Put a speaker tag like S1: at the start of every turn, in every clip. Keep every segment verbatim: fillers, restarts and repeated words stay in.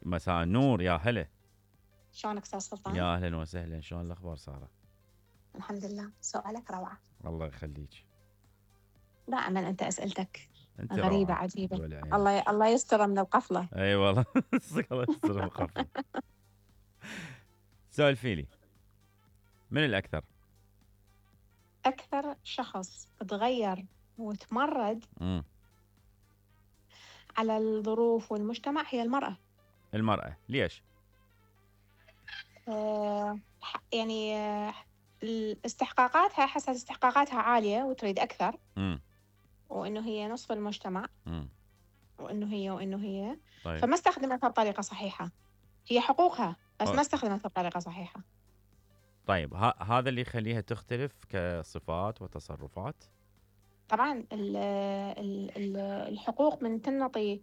S1: مساء النور، يا هلا.
S2: شلونك استاذ سلطان؟
S1: يا اهلا وسهلا، شلون الاخبار ساره؟
S2: الحمد لله، سؤالك روعة.
S1: الله يخليك.
S2: دائما انت اسئلتك
S1: انت
S2: غريبة
S1: روعه
S2: عجيبة.
S1: دول عينك.
S2: الله الله يستر من القفلة.
S1: اي والله. الله يستر مخفف. سولفي لي، من الاكثر؟
S2: اكثر شخص تغير وتمرد
S1: امم
S2: على الظروف والمجتمع هي المرأة.
S1: المراه، ليش؟
S2: أه يعني أه استحقاقاتها، حست استحقاقاتها عالية وتريد أكثر.
S1: امم
S2: وإنه هي نصف المجتمع.
S1: امم
S2: وإنه هي وإنه هي
S1: طيب.
S2: فما استخدمتها بطريقة صحيحة. هي حقوقها بس
S1: أوه.
S2: ما استخدمتها بطريقة صحيحة.
S1: طيب، ه- هذا اللي يخليها تختلف كصفات وتصرفات.
S2: طبعا ال ال ال الحقوق من تنطي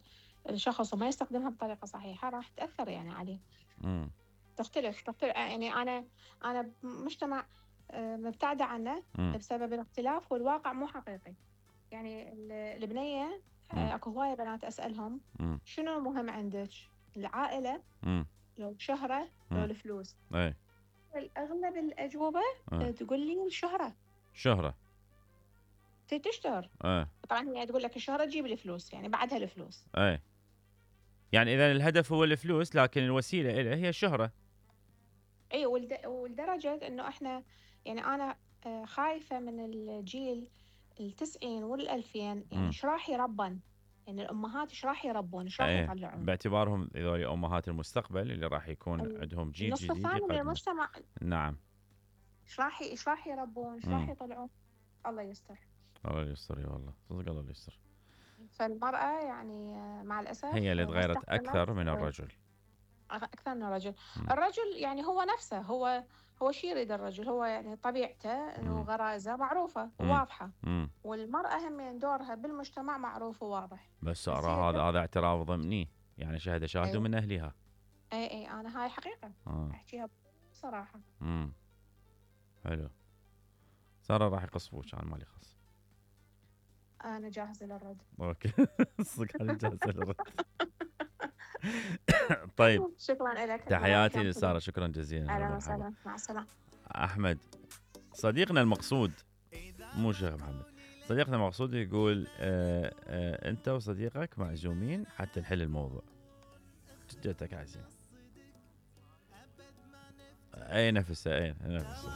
S2: الشخص وما يستخدمها بطريقة صحيحة راح تأثر يعني عليه.
S1: امم
S2: تختلف تختلف يعني أنا أنا بمجتمع آه، مبتعدة عنه
S1: امم
S2: بسبب الاختلاف والواقع مو حقيقي. يعني ال- البنية
S1: امم
S2: آه، أكو هواية بنات أسألهم
S1: امم
S2: شنو مهم عندك؟ العائلة
S1: امم
S2: لو شهرة لو
S1: امم
S2: الفلوس؟
S1: اي.
S2: الأغلب الأجوبة
S1: اه.
S2: آه، تقول لي الشهرة.
S1: شهره.
S2: تي تشتهر.
S1: اه.
S2: طبعا هي تقول لك الشهرة تجيب الفلوس، يعني بعدها الفلوس.
S1: اي. يعني اذا الهدف هو الفلوس، لكن الوسيله اليه هي الشهره.
S2: اي ولد- ولدرجة انه احنا يعني انا آه، خايفة من الجيل التسعين والألفين، يعني
S1: امم
S2: ايش راح يربن؟ يعني الأمهات ايش راح يربون؟ ايش راح
S1: ايه،
S2: يطلعون؟
S1: باعتبارهم هذول امهات المستقبل اللي راح يكون
S2: ال-
S1: عندهم جيل
S2: النصف
S1: جديد
S2: الثاني من
S1: يقدمه.
S2: المجتمع
S1: نعم.
S2: ايش راح ايش راح يربون؟ ايش راح
S1: امم
S2: يطلعون؟ الله يستر.
S1: الله يستر، يا والله صدق الله يستر.
S2: فالمرأة يعني آه، مع
S1: هي
S2: الأسف
S1: اللي
S2: آه، ما
S1: تغيرت
S2: استخدمت
S1: اكثر من
S2: آه،
S1: الرجل.
S2: أكثر من الرجل.
S1: امم
S2: الرجل يعني هو نفسه، هو هو شي يريد الرجل، هو يعني طبيعته انه
S1: امم
S2: غرائزه معروفة
S1: امم
S2: وواضحة.
S1: امم
S2: والمرأة هم يعني دورها بالمجتمع معروف وواضح.
S1: بس
S2: بس
S1: ارى
S2: هي
S1: هذا
S2: تبقى.
S1: هذا اعتراف ضمني، يعني شهد شاهد
S2: ايوه.
S1: من اهلها.
S2: اي اي انا هاي حقيقة
S1: اه.
S2: احكيها بصراحة.
S1: امم حلو. ساره راح يقصفوك، انا مالي خص.
S2: انا جاهزة للرد.
S1: اوكي. صدق انا جالس الرد. طيب،
S2: شكرا لك، نورك يا
S1: تحياتي
S2: محمد.
S1: لساره، شكرا جزيلا، هلا
S2: اهلا
S1: مرحبا.
S2: وسهلا، مع السلامة.
S1: احمد صديقنا المقصود، مو شيخ محمد، صديقنا المقصود يقول آه آه انت وصديقك معزومين حتى نحل الموضوع. جدتك عايزين. اي نفسه، اي نفسه.